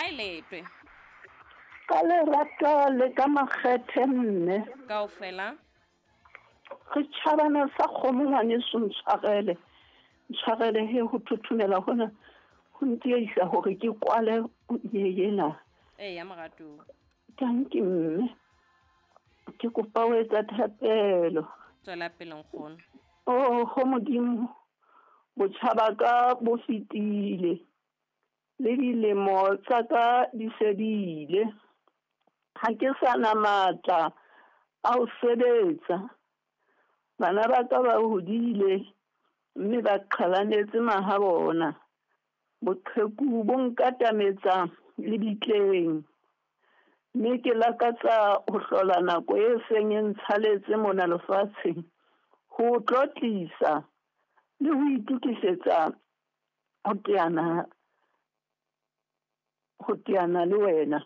Ha e letwe. Ka lerato le ka makgethe mme. Kaofela. Re tjhabana sa kgomo ngwaneso ntshwarele. Ntshwarele he ho thothomela hona ho ntiehisa hore ke kwale ye ena. Eya moratuwa. Tanki mme. Ke kopa ho etsa thapelo. Tswela pele nkgono. Oho Modimo, botjha ba ka bo fetile le dilemo tsa ka di se di ile. Ha ke sa na matla a ho sebetsa. Bana ba ka ba hodile mme ba qhalanetse mahabona. Boqheku bo nkatametsa lebitleng. Mme ke lakatsa ho hlola nako e seng e ntshaletse mona lefatsheng ho o tlotlisa le ho itokisetsa ho teana ho teana le wena.